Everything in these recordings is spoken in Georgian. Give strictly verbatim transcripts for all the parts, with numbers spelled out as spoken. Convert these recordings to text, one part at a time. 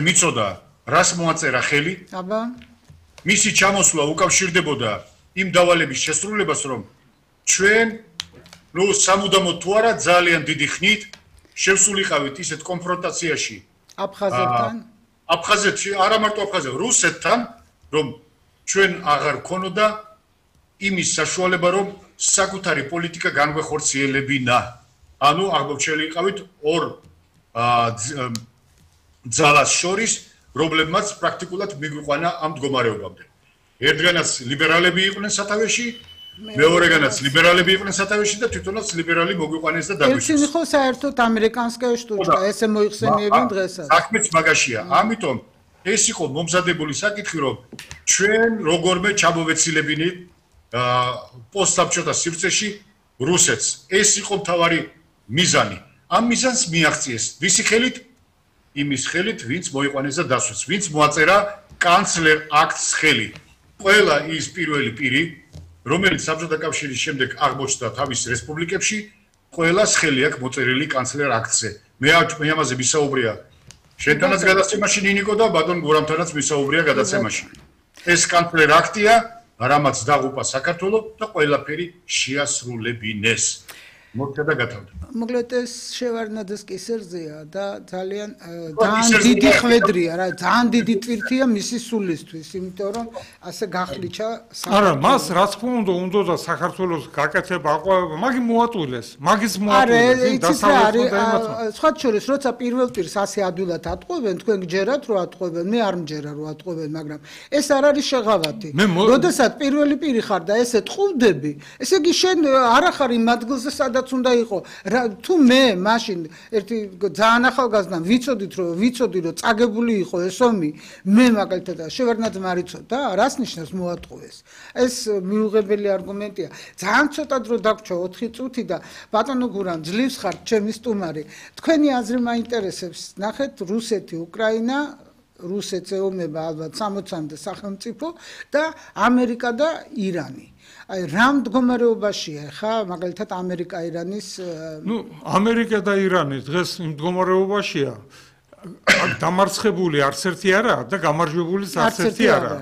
მიწოდა რას მოაწერა ხელი აბა მისი ჩამოსვლა უკავშირდებოდა იმ დავალების შესრულებას რომ ჩვენ ნუ სამუდამოდ თუ არა ძალიან დიდი ხნით შევსულიყავით ისეთ კონფრონტაციაში აფხაზეთთან აფხაზეთში არა მარტო აფხაზეთთან რუსეთთან რომ ჩვენ აღარ ქონოდა იმის საშუალება რომ საკუთარი პოლიტიკა განვეხორციელებინა ანუ აღმოჩენილიყავით ორ ძალას შორის რომლებმაც პრაქტიკულად მიგვიყვანა ამ მდგომარეობამდე ერთგანაც ლიბერალები იყვნენ სათავეში მეორეგანაც ლიბერალები იყვნენ სათავეში და თვითონაც ლიბერალი მოგვიყვანეს და დაგვიშვეს ერთი ხო საერთოდ ამერიკანსკая штучка ესე მოიხსენიებენ დღესაც საქმეც მაგაშია ამიტომ ეს იყო მომზადებული საკითხი რომ ჩვენ როგორმე ჩამოვეცილებინით პოსტსაბჭოთა სივრცეში რუსეთს ეს იყო მთავარი მიზანი ამ მიზანს მიაღწიეს ვისი ხელით იმის ხელით ვინც მოიყვანეს და დასვეს ვინც მოაწერა კანცლერ აქტს ხელი ყველა ის პირველი პირი რომელიც საბჭოთა კავშირის შემდეგ აღმოჩნდა თავის რესპუბლიკებში ყველას ხელი აქვს მოწერილი კანცლერ აქტზე მე მე ამაზე ვისაუბრია შენთანაც გადაცემაში ნინიკო და ბატონ გურამთანაც ვისაუბრია გადაცემაში ეს კანცლერ აქტია რამაც დაღუპა საქართველო და ყველაფერი შეასრულებინეს მოხდა და გათავდა მოკლედ ეს შევარდნაძეს კისერზეა და ძალიან ძალიან დიდი ხვედრია რა ძალიან დიდი ტვირთია მისი სულისთვის იმიტომ რომ ასე გახლიჩა არა მას რა თქმა უნდა უნდა და საქართველოს გაკეთება აყვავება მაგი მოატყვილეს მაგის მოატყვილეს იმ დასავლეთ და სხვა შორის როცა პირველ პირს ასე ადვილად ატყვევენ თქვენ გჯერათ რომ ატყვევენ მე არ მჯერა რომ ატყვევენ მაგრამ ეს არ არის შეღავათი როდესაც პირველი პირი ხარ და ესე ტყუვდები ესე იგი შენ არ ახარ იმ ადგილზე სადაც უნდა იყო თუ მე მაშინ ერთი ძალიან ახალგაზრდამ ვიცოდით რომ ვიცოდი რომ წაგებული იყო ეს ომი მე მაგალითად შევარდნაძე მარიცოდა რას ნიშნავს მოატყუეს ეს მიუღებელი არგუმენტია ძალიან ცოტა დრო დაგვრჩა ოთხი წუთი და ბატონო გურამ ძლივს ხარ ჩემი სტუმარი თქვენი აზრი მაინტერესებს ნახეთ რუსეთი უკრაინა რუსეთს ეომება ალბათ სამოცამდე სახელმწიფო და ამერიკა და ირანი აი რა მდგომარეობაშია ხა მაგალითად ამერიკა ირანის ნუ ამერიკა და ირანი დღეს იმ მდგომარეობაშია დამარცხებული არც ერთი არაა და გამარჯვებულიც არც ერთი არაა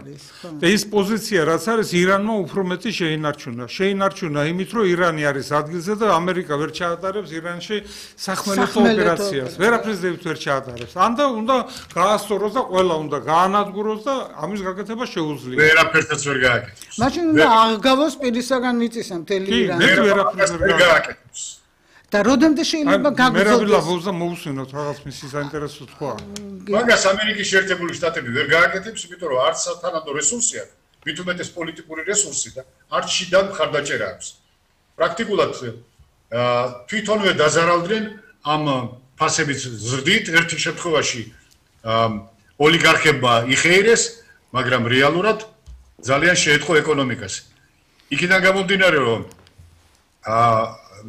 და ის პოზიცია რაც არის ირანმა უფრო მეტი შეინარჩუნა შეინარჩუნა იმით რომ ირანი არის ადგილზე და ამერიკა ვერ ჩაატარებს ირანში სახმელეთო ოპერაციას ვერაფერს ვერ ჩაატარებს ან და უნდა გაასწოროს და ყველა უნდა გაანადგუროს და ამის გაკეთება შეუძლია ვერაფერსაც ვერ გააკეთებს მაშინ უნდა აღგავოს პირისაგან მიწისა მთელი ირანი კი ვერაფერს ვერ გააკეთებს და როდემდე შეიძლება გაგრძელდეს? მე ვილაბოს და მოусვინოთ რაღაც მისი საინტერესო თქვა. მაგას ამერიკის შეერთებული შტატები ვერ გააკეთებს, იმიტომ რომ არც სათანადო რესურსი აქვს, მით უმეტეს პოლიტიკური რესურსი და არც შიდა მხარდაჭერა აქვს. პრაქტიკულად თვითონვე დაზარავდნენ ამ ფასების ზრდით ერთი შემთხვევაში ოლიგარქებმა იხეირეს, მაგრამ რეალურად ძალიან შეეთხო ეკონომიკას. იქიდან გამომდინარე რომ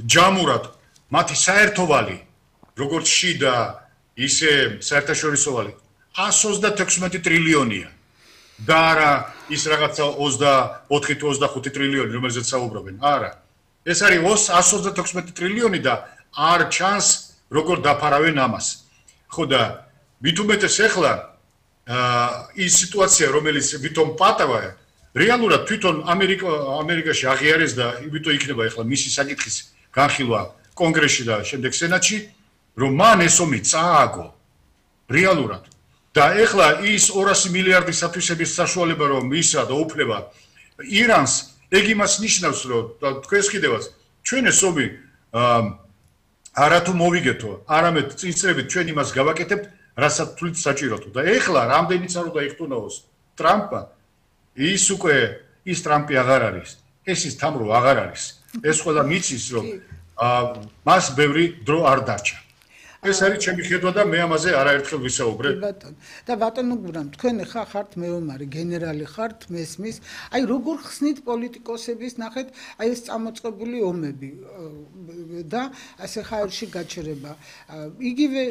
ჯამურად მათი საერთოვალი როგორც შიდა ისე საერთაშორისოვალი εκατს ოცდათექვსმეტი ტრილიონია და არა ის რაღაცა ოცდაოთხი თუ ოცდახუთი ტრილიონი რომელზეც საუბრობენ არა ეს არის εκατს ოცდათექვსმეტი ტრილიონი და არ ჩანს როგორ დაფარავენ ამას ხო და მით უმეტეს ახლა ის სიტუაცია რომელიც ვითომ პატავა რეალურად თვითონ ამერიკა ამერიკაში აღიარეს და იმიტომ იქნება ახლა მისი საკითხის განხილვა კონგრესში და შემდეგ სენატში რომ მან ეს ომი წააგო რეალურად და ეხლა ის ორასი მილიარდი სათვისების საშუალება რომ მისცა და უფლება ირანს ეგ იმას ნიშნავს რომ თქვენს კიდევაც ჩვენ ეს ომი არათუ მოვიგეთო არამედ წინწრებით ჩვენ იმას გავაკეთებთ რასაც თვლით საჭიროთო და ეხლა რამდენიც არ უნდა იხტუნაოს ტრამპა ის უკვე ის ტრამპი აღარ არის ეს ის თამრო აღარ არის ეს ყველა მიცის რომ მას ბევრი დრო არ დარჩა ეს არის ჩემი ხედვა და მე ამაზე არაერთხელ ვისაუბრე ბატონო და ბატონო გურამ თქვენ ხა ხართ მეომარი გენერალი ხართ მესმის აი როგორ ხსნით პოლიტიკოსების ნახეთ აი ეს წამოწყებული ომები და ასე ხაერში გაჩერება იგივე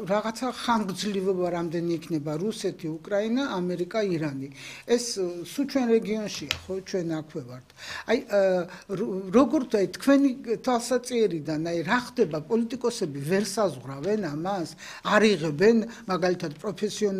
რაღაცა ხანგრძლივობა რამდენი იქნება რუსეთი უკრაინა ამერიკა ირანი ეს სულ ჩვენ რეგიონშია ხო ჩვენ აქვე ვართ აი როგორ თქვენი თვალსაჩინოებიდან აი რა ხდება პოლიტიკოსები ვერ საზღვრავენ განაზღვრავენ ამას? არ იღებენ მაგალითად პროფესიონალ